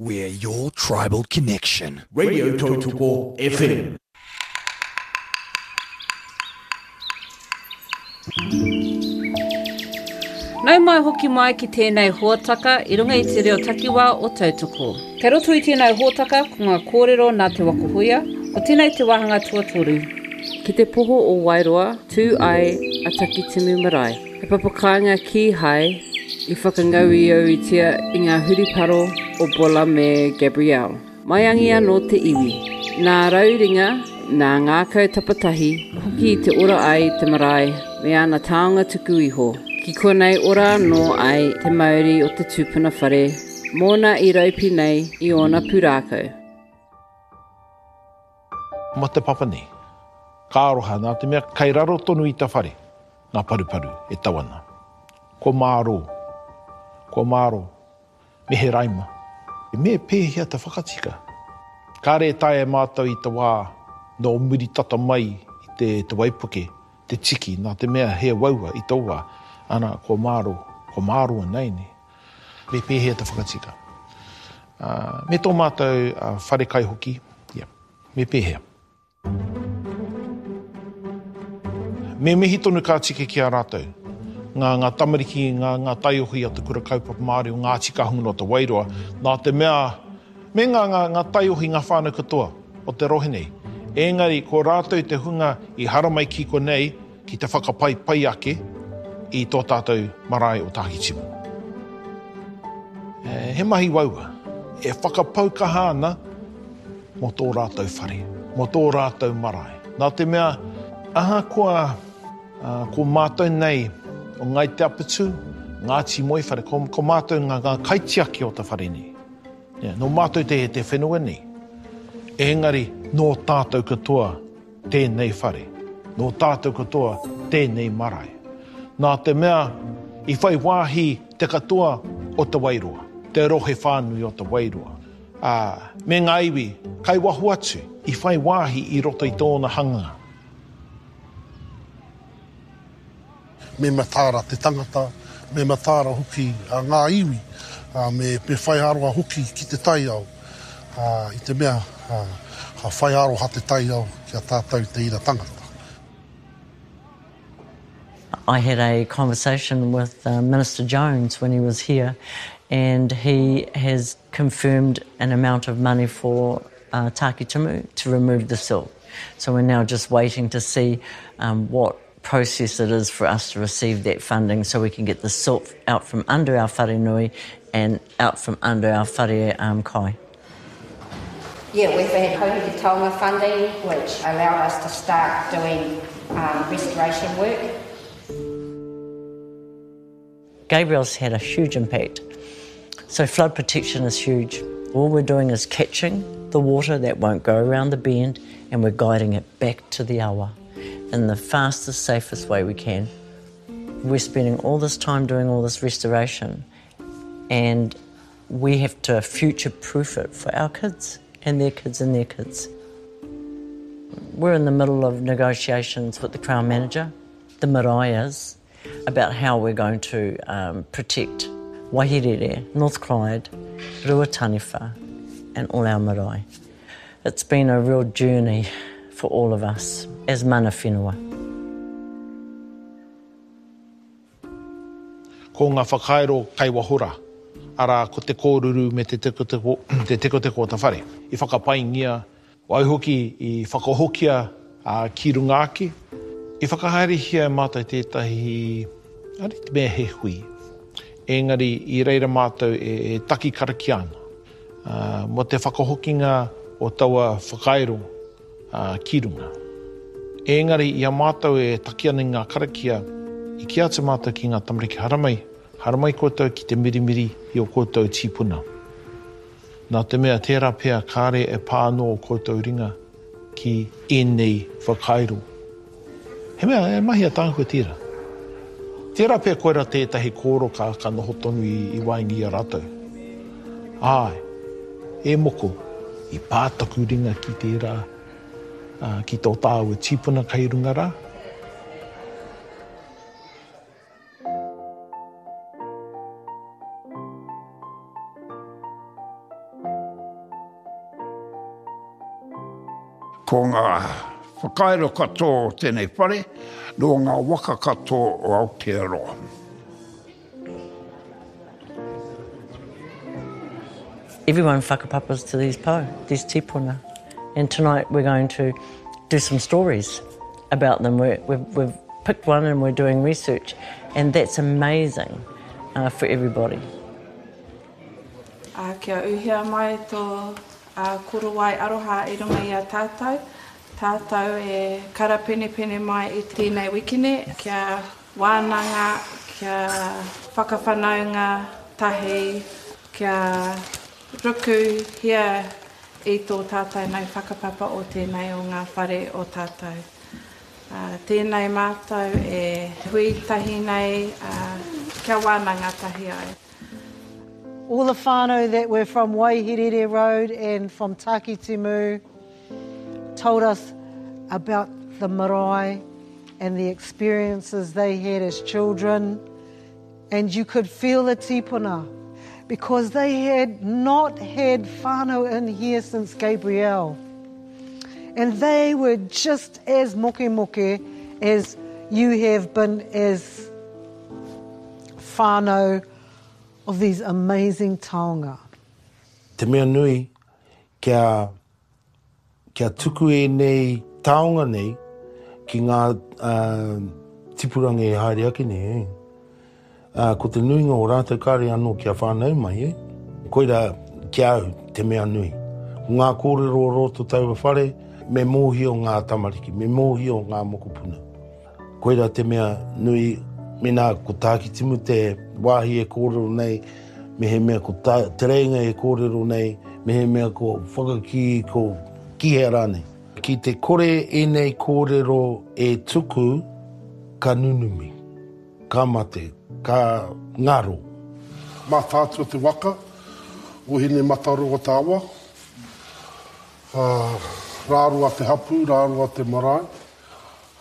We're your tribal connection. Radio Tautoko FM. Nau mai hoki mai ki tēnei hōtaka i runga i te reo takiwā o Tautoko. Kei roto i tēnei hōtaka ko ngā kōrero nā Te Waka Huia, ko tēnei te wāhanga tuatoru. Ki te poho o Wairoa tū ai a Takitimu Marae, he papakāinga kīhai i whakangauiauitia i ngā huriparo o Bola me Gabrielle. Maiangi anō te iwi. Nā Rauringa, nā Ngākau Tapatahi hoki i te ora ai te marae me ana taonga tuku iho. Ki konei ora anō ai te mauri o te tupuna whare mōna i raupi nei i ōna pūrākau. Ma te papa nei. Ka aroha, nā te mea kai raro tonu i ta whare ngā paruparu e tau ana. Kua mārō. Kua mārō. Me he raima. Me pēhea te whakatika? Kāre e taea e mātou i te wā nō muri tata mai i te te waipuke te tiki nā te mea he uaua i tō wā, ana, kua mārō, kua mārō ināianei. Me pēhea te whakatika? Me tō mātou wharekai hoki, yeah, me pēhea? Me mihi tonu ka tika ki a rātou, ngā, ngā tamariki, ngā, ngā taiohi o te Kura Kaupapa Māori o Ngāti Kahungunu o Te Wairoa, nā te mea, me ngā, ngā, ngā taiohi, ngā whānau katoa o te rohe nei. Engari, ko rātou te hunga i haramai ki konei ki te whakapaipai ake i tō tātou marae o Tākitimu. He mahi uaua. E whakapau kaha ana mō tō rātou whare, mō tō rātou marae. Nā te mea, ahakoa ko mātou nei o Ngāi Te Apatū, Ngāti Moewhare, ko, ko mātou ngā, ngā kaitiaki o te whare nei. Yeah, nō mātou te, te whenua nei. Engari, nō tātou katoa tēnei whare. Nō tātou katoa tēnei marae. Nā te mea, i whai wāhi te katoa o Te Wairoa, te rohe whānui o Te Wairoa. Ā, me ngā iwi kai waho atu i whai wāhi i roto i tōna hanganga. Me mataara te tangata, me mataara hoki ngā iwi, ā, me whai aroha hoki ki te taiao, ā, i te mea, ā, ka whai aroha te taiao ki a tātou te ira tangata. I had a conversation with uh, Minister Jones when he was here, and he has confirmed an amount of money for uh, Takitimu to remove the silt. So we're now just waiting to see um, what process it is for us to receive that funding so we can get the silt out from under our wharenui and out from under our whare um, kai. Yeah, we've had Hauhiri Taonga funding, which allowed us to start doing um, restoration work. Gabriel's had a huge impact. So flood protection is huge. All we're doing is catching the water that won't go around the bend and we're guiding it back to the awa in the fastest, safest way we can. We're spending all this time doing all this restoration and we have to future-proof it for our kids and their kids and their kids. We're in the middle of negotiations with the Crown Manager, the marae about how we're going to um, protect Waihirere, North Clyde, Ruataniwha and all our marae. It's been a real journey for all of us as mana whenua. Ko ngā whakairo kai waho rā, arā, ko te kōruru me te tekoteko, te tekoteko o te whare. I whakapaingia, waihoki i whakahokia ki runga ake. I whakahaerehia e mātou tētahi, kāore i te mea he hui, engari i reira mātou e taki karakia ana mō te whakahokinga o taua whakairo ki runga. Engari, i a mātou e taki ana i ngā karakia, i kī atu mātou ki ngā tamariki, Haramai, haramai koutou ki te mirimiri i ō koutou tīpuna. Nā te mea tērā pea kāre e pā anō ō koutou ringa ki ēnei whakairo. He mea, he mahi ataahua tērā. Tērā pea koirā tētahi kōro ka, ka noho tonu i, i waenga i a rātou. Āe, e moko, i pā taku ringa ki tērā, ā, ki tō tāua tīpuna kei runga rā. Ko ngā whakairo katoa o tēnei whare, nō ngā waka katoa o Aotearoa. Everyone whakapapas to these pou, these tipuna. And tonight we're going to do some stories about them. We're, we've, we've picked one and we're doing research, and that's amazing uh, for everybody. Ā, kia uhia mai tō korowai aroha i runga i a tātou, tātou e karapenepene mai i tēnei wikene, kia wānanga, kia whakawhanaunga tahi, kia rukuhia i tō tātou nei whakapapa o tēnei o ngā whare o tātou. Tēnei mātou e hui tahi nei, kia wānanga tahi ai. All the whānau that were from Waihirere Road and from Takitimu told us about the marae and the experiences they had as children. And you could feel the tipuna because they had not had whānau in here since Gabrielle. And they were just as moke moke as you have been as whānau of these amazing taonga. Te mea nui, kia, kia tuku ēnei taonga nei ki ngā uh, tipuranga e haere ake nei. Eh? Uh, ko te nuinga o rātou kāre anō kia whānau mai. Eh? Koira ki a au te mea nui. Ko ngā kōrero o roto taua whare, me mōhio ngā tamariki, me mōhio ngā mokopuna. Koirā te mea nui, mēnā ko Tākitimu te wāhi e kōrero nei, mehemea ko tā, Te Reinga e kōrero nei, mehemea ko Whakakī, ko ki hea rānei. Ki te kore ēnei kōrero e tuku, ka nunumi, ka mate, ka ngaro. Mātaatua te waka o Hinemataroa te awa, Rāroa te hapū, Rāroa te marae.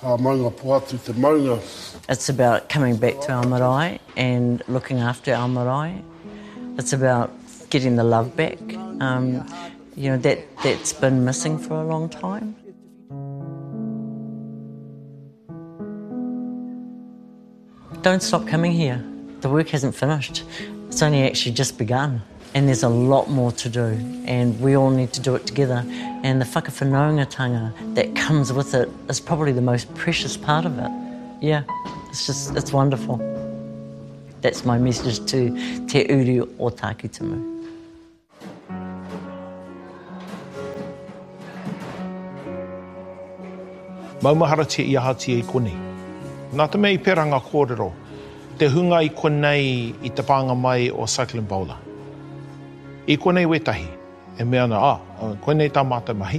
Maungapohatu te maunga. It's about coming back to our marae and looking after our marae. It's about getting the love back. Um, you know, that, that's been missing for a long time. Don't stop coming here. The work hasn't finished. It's only actually just begun. And there's a lot more to do, and we all need to do it together. And the whakawhanaungatanga that comes with it is probably the most precious part of it. Yeah, it's just, it's wonderful. That's my message to Te Uri o Tākitimu. Maumaharatia i ahatia i konei. Nā te mea i pērā ngā kōrero, te hunga i konei i te pānga mai o Cyclone Bola. I konei wētahi e mea ana, ah, koinei tā mātou mahi,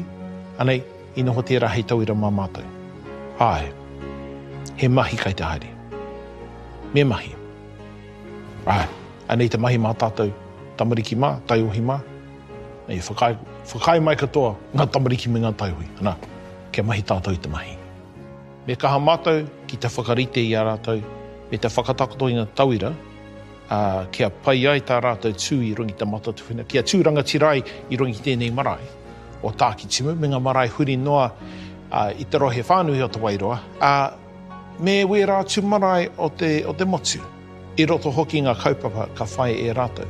anei, i noho tērā hei tauira mā mātou. Āe, he mahi kai te haere. Me mahi. Āe, anei te mahi mā tātou tamariki mā, taiohi mā. Nei, whakaae, whakaae mai katoa ngā tamariki me ngā taiohi, ana, kia mahi tātou i te mahi. Me kaha mātou ki te whakarite i a rātou me te whakatakoto i ngā tauira, ā, kia pai ai tā rātou tū i runga i te matatuwhena, kia tū rangatira ai i runga i tēnei marae o Tākitimu me ngā marae huri noa i te rohe whānui o Te Wairoa, ā, me wērā atu marae o te, o te motu, i roto hoki ngā kaupapa ka whai e rātou.